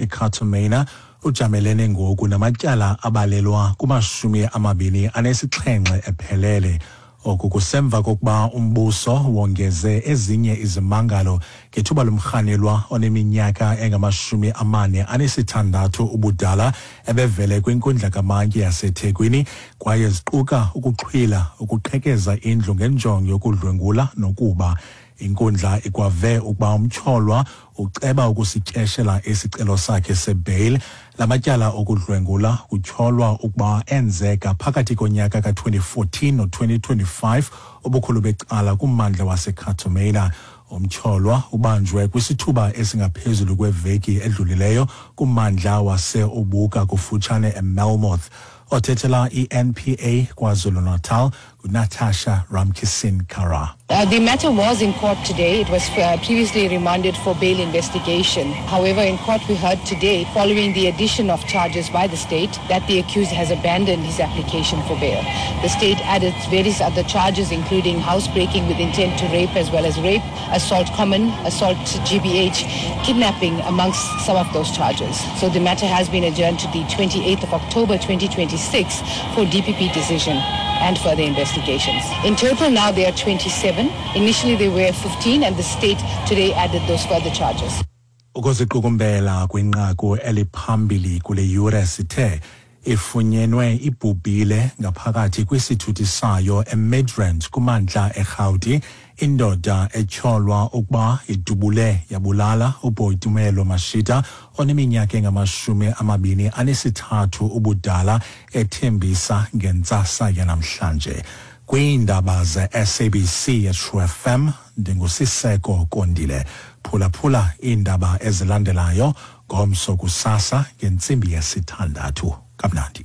eCato Manor ujamelene ngoku namatyala abalelwa kumashumi amabini anesixhenxe ephelele. Oku kusemva kokuba umbuso wongeze ezinye izimangalo ngethuba lomrhanelwa oneminyaka engamashumi amane anesithandathu ubudala ebevele kwinkundla kamantyi yaseThekwini kwaye ziquka ukuxhwila, ukuqhekeza indlu ngenjongo yokudlwengula nokuba. Inkundla ikwave ukuba umtyholwa uceba ukusityeshela isicelo sakhe sebheyile. La matyala okudlwengula kutyholwa ukuba enzeka phakathi konyaka ka-2014 no-2025 ubukhulu becala kummandla waseCato Manor. Umtyholwa ubanjwe kwisithuba esingaphezulu kweveki edlulileyo kummandla wase-Ubuka kufutshane eMelmoth. Othethela i-NPA KwaZulu-Natal nguNatasha Ramkisson Kara. The matter was in court today. It was previously remanded for bail investigation. However, in court we heard today, following the addition of charges by the state, that the accused has abandoned his application for bail. The state added various other charges, including housebreaking with intent to rape as well as rape, assault common, assault GBH, kidnapping, amongst some of those charges. So the matter has been adjourned to the 28th of October 2026 for DPP decision and further investigations. In total now there are 27. Initially they were 15 and the state today added those further charges. Ukuziqukumbela kwinqaku eliphambili kule yure sithe ifunyenwe ibhubhile ngaphakathi kwisithuthi sayo eMidrand kumantla eRhawuti indoda etyholwa ukuba idubule yabulala uBoitumelo Mashita oneminyaka engamashumi amabini anesithathu ubudala ethembisa ngentsasa yanamhlanje. Kwiindaba ze-SABC yeTrue FM ndinguSiseko Kondile. Phulaphula iindaba ezilandelayo ngomso kusasa ngentsimbi yesithandathu. Kamnandi.